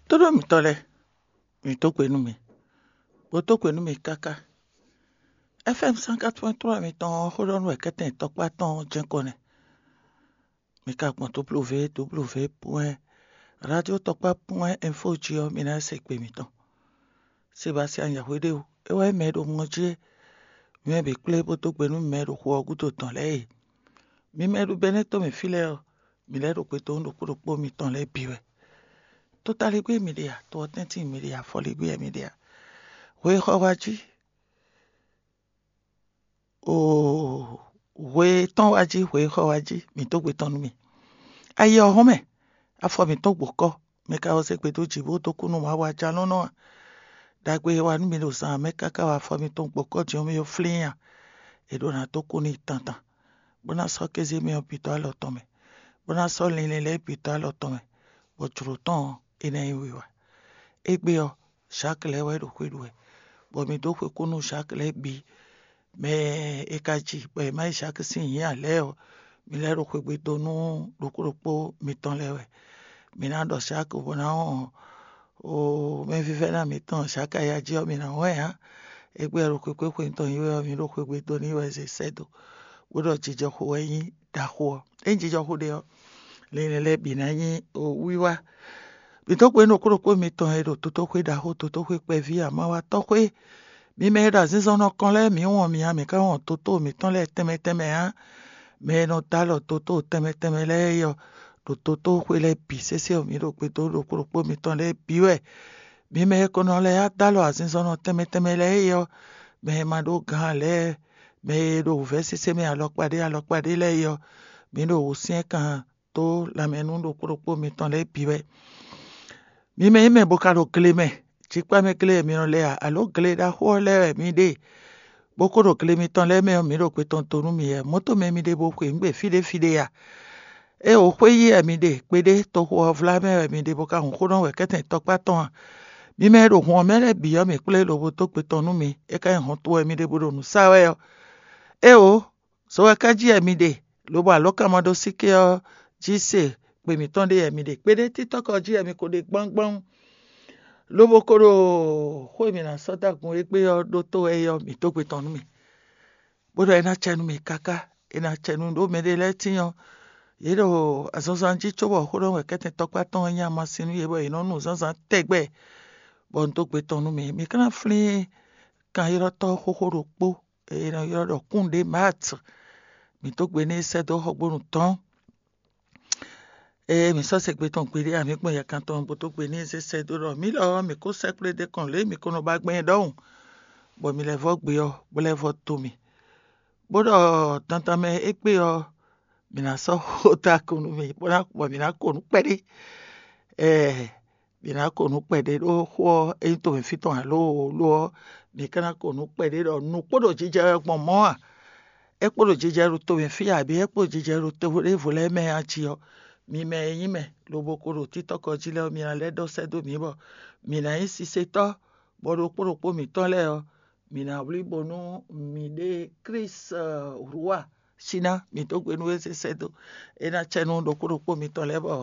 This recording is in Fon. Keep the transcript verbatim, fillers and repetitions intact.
Tóɖó mǐtɔn lɛ́ɛ, mǐ dó gbe nú mi, bó dó gbe nú mi káká. F M cent quatre-vingt-trois mǐtɔn ɔ́, xó ɖɔ nú wɛ kɛ́tɛn tɔkpá tɔn ɔ́ jɛ́n kɔ nɛ́. Mi ka gbɔn W W W point radio tɔkpá point info jí ɔ́, mi ná se gbe mǐtɔn. Sebastian Yahweh ɖe o, é wɛ nyí mɛ e ɖo ŋɔ jí é. Mi mɛ bǐ kplé bó dó gbe nú mɛ e ɖo xu ɔ́ gúdo dɔn lɛ́ɛ e. Mi mɛ e ɖo Bɛnɛ́ to mɛ fí lɛ́ɛ ɔ́, mi lɛ́ ɖo gbe dó nú ɖokpó ɖokpó mitɔn lɛ́ɛ bǐ wɛ. Totaligbé mi ɖe a? To ɔ́ tɛ́ntin mi ɖe a? Afɔligbé wɛ mi ɖe a? Hwe xɔ wá jí, oo, hwe tɔn wá jí, hwe xɔ wá jí, mǐ dó gbe tɔn nú mi. Ayi ɔ́ hɔn mɛ, afɔ mǐtɔn gbǒ kɔ́, mi ka wɛ zé gbe dó jǐ bó dó kú nú Mawu ajalɔ́nɔ a? Ɖagbe e wa nú mi ɖo zan mɛ káká wɛ afɔ mitɔn gbǒ kɔ́ din ɔ́ mɛ ɔ́ flín a? È ɖó ná dó kú n'i tantan, bó ná sɔ́ kéze mɛ ɔ́ bǐ dó alɔ tɔn mɛ, bó ná sɔ́ linlin lɛ́ɛ bǐ dó alɔ tɔn mɛ, bɔ jlǒ tɔn ɔ́, é ná nyí wiwa. Égbé ɔ́, Jacques lɛ́ɛ wɛ ɖo xwe ɖu wɛ, bɔ mi dó xwe kú nú Jacques lɛ́ɛ bǐ. Mɛ e ka ji bɔ è má yi Jacques sín nyǐ ǎ lɛ́ɛ ɔ́, mi lɛ́ ɖo xwegbe dó nú ɖokpó ɖokpó mitɔn lɛ́ɛ wɛ. Mi ná ɖɔ Jacques bó ná wɔn o mɛvívɛ́ná mitɔn Jacques aya jí ɔ́, mi ná wɔn ɛ ǎ. Égbé ɔ́, ɖo xwekpé xwe mitɔn nyi wɛ ɔ́, mi ɖo xwegbe dó n'i wɛ zé sɛ́ dó, bó ɖɔ jijɔxo wɛ nyí ɖaxó ɔ́. Ényí jijɔxo ɖe ɔ́, linlin lɛ́ɛ bǐ ná nyí wiwa. Mǐ dó gbe nú ɖokpó ɖokpó mitɔn e ɖo totóxwé ɖaxó, totóxwé kpɛví, amawatɔ́xwé. Mi mɛ e ɖo azinzɔnnɔ kɔn lɛ́ɛ, mǐ wɔn mi ǎ, mǐ ka wɔn toto mǐtɔn lɛ́ɛ tɛnmɛ tɛnmɛ ǎ. Mɛ e nɔ dó alɔ toto tɛnmɛ tɛnmɛ lɛ́ɛ é ɔ́, ɖo totóxwé lɛ́ɛ bǐ sésé ɔ́, mǐ ɖo gbe dó ɖokpó ɖokpó mitɔn lɛ́ɛ bǐ wɛ. Mi mɛ e ko nɔ lɛ́ dó alɔ azinzɔnnɔ tɛnmɛ tɛnmɛ lɛ́ɛ é ɔ́, mɛ e ma ɖó gǎn ǎ lɛ́ɛ, mɛ e ɖo wǔvɛ́ sésé mɛ alɔkpa ɖé alɔkpa ɖé lɛ́ɛ é ɔ́, mǐ ɖo wǔsyɛ́nkan dó lanmɛ nú ɖokpó ɖokpó mitɔn lɛ́ɛ bǐ wɛ. Mi mɛ nyí mɛ bo ka ɖo gle mɛ, jikpá mɛ gle wɛ mi nɔ lɛ a, alǒ gle ɖaxó ɔ́ lɛ́ɛ wɛ mi ɖe, bó ko ɖo gle mitɔn lɛ́ɛ mɛ ɔ́, mǐ ɖo gbe tɔn dó nú mi wɛ. Mɔ̌ tɔn mɛ mi ɖe bo xwe nǔ gbe fí ɖé fí ɖé a? Éeǒ, xwé yí wɛ mi ɖe, kpeɖé toxo ɔ́ vlá mɛ wɛ mi ɖe bo ka hun xó nɔ wɛ kɛ́tɛn tɔkpá tɔn a? Mi mɛ e ɖo hun ɔ́ mɛ lɛ́ɛ bǐ ɔ́, mǐ kplé lobo dó gbe tɔn nú mi; é ka nyí hɔn towe mi ɖe bo ɖo nǔ sa wɛ ɔ́. Éeǒ, zo wɛ ka jí wɛ mi ɖe, lobo alɔ̌kanmaɖósíké ɔ́ jí se gbe mǐtɔn ɖe wɛ mi ɖe. Kpeɖé títɔ́kɔ jí wɛ mi ko ɖe gbángbán, lobo ko ɖo xó e mǐ ná sɔ́ dó agun égbé ɔ́ ɖótó wɛ é ɔ́, mǐ dó gbe tɔn nú mi, bó ɖɔ é ná cɛ nú mi káká. É ná cɛ nú ɖó mɛɖé lɛ́ɛ tíin ɔ́, yě ɖo azɔnzan jí cóbɔ xó ɖɔ wɛ kɛ́tɛn tɔkpá tɔn ɔ́ nyí amasin nú yě bɔ yě nɔ nu zǎnzǎn tɛgbɛ, bɔ un dó gbe tɔn nú mi. Mi ka ná flín kanylɔ́tɔ́ xóxó ɖokpó e è nɔ ylɔ́ ɖɔ Kúnɖé Maat. Mǐ dó gbe n'i sɛ́ dó xɔgbónu tɔn. Ée mǐ sɔ́ se gbe tɔn gbeɖé ǎ, mǐ gbɔn yɛkan tɔn bó dó gbe n'i zé sɛ́ dó ɖɔ mǐ lɔ ɔ́, mǐ kó sɛ́kplé ɖé kɔn lě e mǐ ko nɔ ba gbɛn é ɖɔhun, bɔ mǐ lɛ́ vɔ́ gbe ɔ́, bó lɛ́ vɔ́ dó mì, bó ɖɔ dandan mɛ égbé ɔ́, mǐ ná sɔ́ xó dó akɔn nú mì, bó ná bɔ mǐ ná ko nǔ kpɛɖé. Ɛɛ, mǐ ná ko nǔ kpɛɖé ɖó xó ɔ́, ényí tomɛ fí tɔn ǎ loo lo ɔ́, mǐ ka ná ko nǔ kpɛɖé ɖɔ nǔ kpo ɖo jijɛ wɛ gbɔn mɔ̌ a? É kpo ɖo jijɛ ɖo tomɛ fí abǐ é kpo ɖo jijɛ ɖo to ɖěvo lɛ́ɛ mɛ a jí ɔ́, mi mɛ e nyí mɛ lobo ko ɖo títɔ́kɔ jí lɛ́ɛ ɔ́, mi ná lɛ́ ɖɔ sɛ́ dó mǐ bɔ mǐ ná nyí sisetɔ́, bɔ ɖokpó ɖokpó mǐtɔn lɛ́ɛ ɔ́, mǐ ná wlí bónú mǐɖée Klísu Rúwa síná mǐ dó gbe nú é zé sɛ́ dó. É ná cɛ nú ɖokpó ɖokpó mitɔn lɛ́ɛ bɔ